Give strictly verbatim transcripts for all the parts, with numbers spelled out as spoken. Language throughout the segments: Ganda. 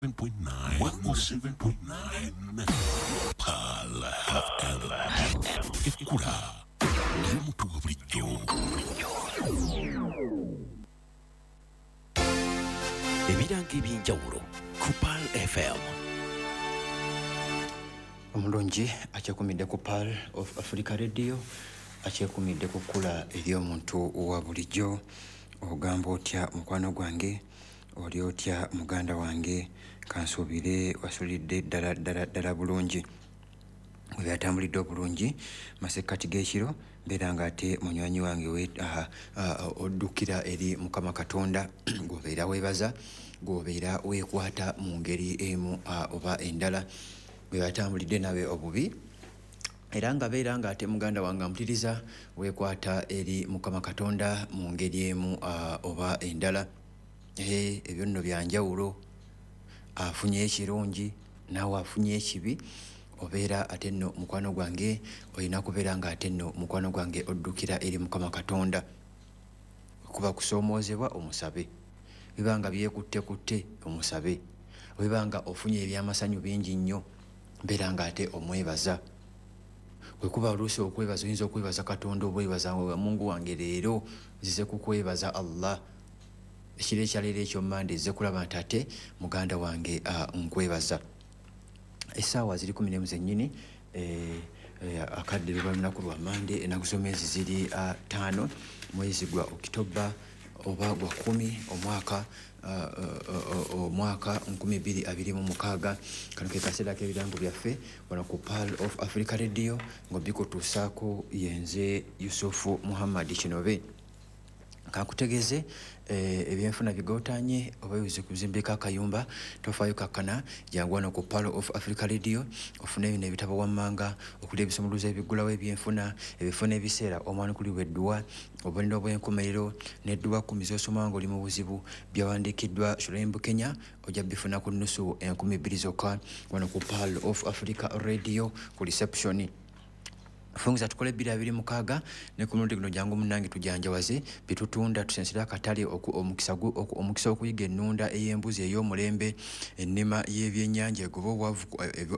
Point nine, one oh seven point nine. Pearl F M. Ekkula ly'omuntu wa bulijjo. Ebirango eby'enjawulo ku Pearl F M. Omulungi akyekumidde ku Pearl of Africa Radio, akyekumidde ku kkula ery'omuntu wa bulijjo. Ogamba otya mukwano gwange, oli otya muganda wange? Kansuubire wasulidde ddala ddala ddala bulungi. Bwe byatambulidde obulungi masekkati g'ekiro, mbeera ng'ate munywanyi wange oddukira eri Mukama Katonda gw'obeera weebaza, gw'obeera weekwata mu ngeri emu oba endala. Bwe byatambulidde nawe obubi, era nga beera ng'ate muganda wange ampuliriza, weekwata eri Mukama Katonda mu ngeri emu oba endala. Ebyo nno bya njawulo, afunye ekirungi naawe afunye ekibi, obeera ate nno mukwano gwange olina kubeera ng'ate nno mukwano gwange oddukira eri Mukama Katonda. Kuba kusoomoozebwa omusabe, biba nga byekuttekutte omusabe, obiba nga ofunye ebyamasanyu bingi nnyo, mbeera ng'ate omwebaza. Bwe kuba oluusi okwebaza, oyinza okwebaza Katonda obwebaza nga Mungu wange leero nzize kukwebaza Allah. Ekiro ekyaleero ekyo Mmande nzize kulaba nti ate muganda wange nkwebaza. Essaawa ziri kumi n'emu zennyini, akadde luba lunaku lwa Mmande, ennaku z'omwezi ziri ttaano, mwezi gwa Okitoba oba gwa kkumi omwaka omwaka nkumi bbiri abiri mu mukaaga. Kano ke kaseera k'ebirango byaffe wano ku Pearl of Africa Radio, ng'obikutuusaako yenze Yusufu Muhammad Kinobe. Kankutegeeze ebyenfuna bigootanye oba bibuze kuzimbika akayumba, tofaayo kakkana, jangu wano ku Pearl of Africa Radio ofune bino ebitabo wammanga okuli ebisumuluzo ebiggulawo ebyenfuna, ebifo n'ebiseera omwanukulibwa edduwa, obubonero bw'enkomerero n'edduwa kkumi z'osoma ng'oli mu buzibu, byawandiikiddwa Shulaim Bukenya, ojja bifuna ku nnusu enkumi bbiri zokka wano ku Pearl of Africa Radio ku reception. Fungiza tukole bbiri abiri mukaaga ne ku mulundi guno jangu munnange tujanjawaze bitutunda, tusensere akatale omukisa omukisa okuyiga ennunda ey'embuzi ey'omulembe, ennima y'ebyennyanja egoba obwavu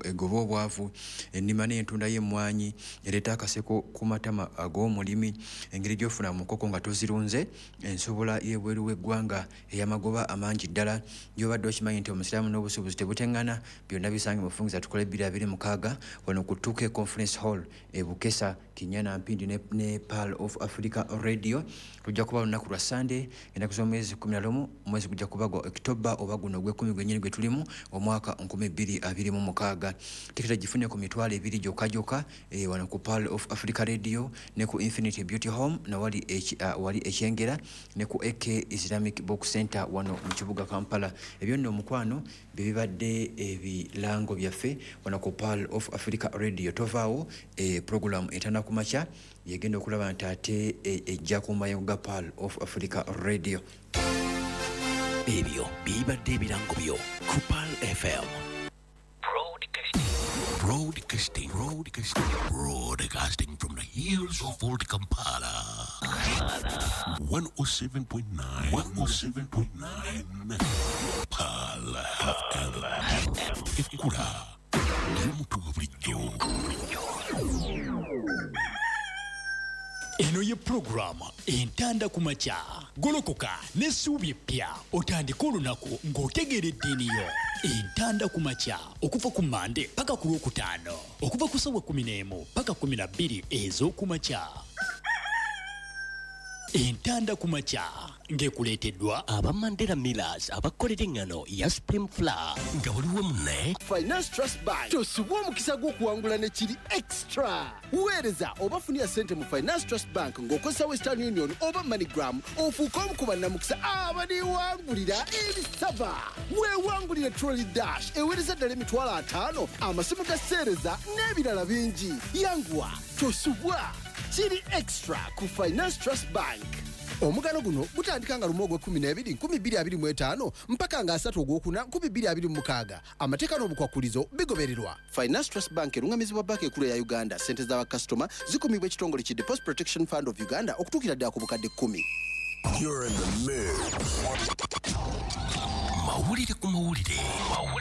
egoba obwavu, ennima n'entunda y'emmwanyi ereeta akaseko ku matama ag'omulimi, engeri gy'ofuna mu nkoko nga tozirunze, ensobola y'ebweru w'eggwanga ey'amagoba amangi ddala. Gy'obadde okimanyi nti omusiraamu n'obusuubuzi tebuteŋŋana, byonna bisange mu Fungiza tukole bbiri abiri mukaaga wano ku two K Conference Hall e Bukesa, Kinyana Mpindi ne, ne Pearl of Africa Radio. Tujja kuba lunaku lwa Sunday ennaku z'omwezi kkumi na lumu, omwezi gujja kuba gwa Okitoba oba guno ogw'ekkumi gwennyini gwe tulimu omwaka nkumi bbiri abiri mu mukaaga. Tikiti gifune ku mitwalo ebiri gyokka gyokka e, wano ku Pearl of Africa Radio ne ku Infinity Beauty Home na wali uh, wali Ekyengera ne ku A K Islamic Book Center wano mu kibuga Kampala. Ebyo nno omukwano bye bibadde ebirango byaffe wano ku Pearl of Africa Radio. Tovaawo e, program etana ku makya yegenda okulaba nti ate ejja ku mayengo ga Pearl of Africa Radio. Ebyo bibadde ebirango byo ku Pearl F M. Broadcasting, broadcasting, broadcasting from the hills of old Kampala. one oh seven point nine, one oh seven point nine. Pearl F M. Ekkula ly'omuntu wa bulijjo. Eno ye pulogulaamu Entanda ku makya. Golokoka n'essuubi eppya otandike olunaku ng'otegeera eddiini yo. Entanda ku makya okuva ku Mmande paka ku Lwokutaano, okuva ku ssaawa kkumi n'emu paka kkumi na bbiri ez'okumakya. Entanda ku makya ng'ekuleeteddwa aba Mandela Millers abakolera eŋŋano ya Supreme Flour nga buli wamu ne Finance Trust Bank. Tosubwa omukisa gw'okuwangula ne kiri extra. Weereza oba funira ssente mu Finance Trust Bank ng'okozesa Western Union oba MoneyGram, ofuuke omu ku bannamukisa abaliwangulira ebisaba. Weewangulire Trolley Dash eweereza ddala emitwalo ataano, amasimu ga seereza n'ebirala bingi. Yanguwa, tosubwa. Kiri extra ku Finance Trust Bank. Omugano guno gutandika nga lumu ogw'ekkumi n'ebiri nkumi bbiri abiri mu etaano mpaka nga asatu ogwokuna nkumi bbiri abiri mu mukaaga. Amateeka n'obukwakulizo bigobererwa. Finance Trust Bank erungamizibwa Banka Enkulu ya Uganda. Ssente z'abakasitoma zikumibwa ekitongole ki Deposit Protection Fund of Uganda okutuukira ddala ku bukadde kkumi. You're in the mood. Mawulire ku mawulire.